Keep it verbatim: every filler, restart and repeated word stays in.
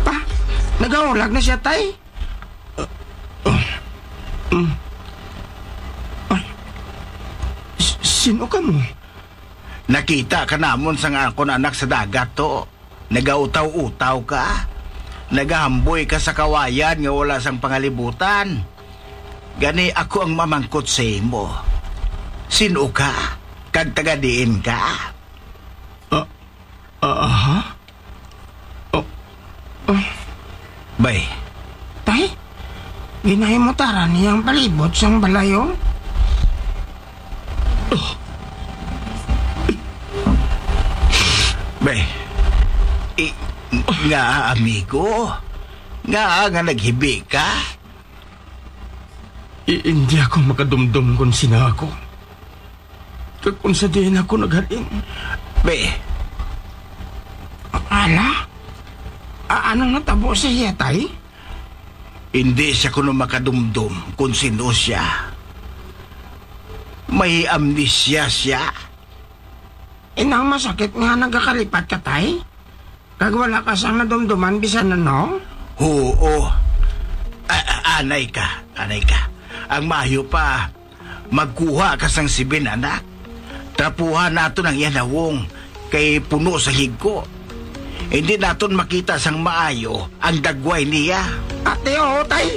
Pa, nagahulag na siya, tay? Ah, ah, mm. Ay, s-, sino ka mo? Nakita ka namon sang akon anak sa dagat, to. Nagautaw-utaw ka. Nagahamboy ka sa kawayan nga wala sang pangalibutan. Gani ako ang mamangkot sa imo. Sino ka? Kag taga diin ka? Ah, ah, ha? Oh, oh. Bay. Tay, ginahimutara niya ang palibot sang balay, oh. Oh. Bay, i-, nga amigo, nga nga naghibi ka? I-, hindi ako makadumdom kung sino ako. Kag kung sa diin ako naghalin. Be. Ala? A-, anong natabo sa iya, tay? Hindi siya kuno makadumdom kung sino siya. May amnesia siya. Inang masakit nga nagakalipat ka, tay? Kag wala ka sang nadumduman bisan ano? Huo. A-, a-, anay ka, anay ka. Ang maayo pa, magkuha ka sang sibin, anak. Trapuhan naton ang iya nawong, kay puno sa higko. Hindi naton makita sang maayo ang dagway niya. Ate, oo, tay.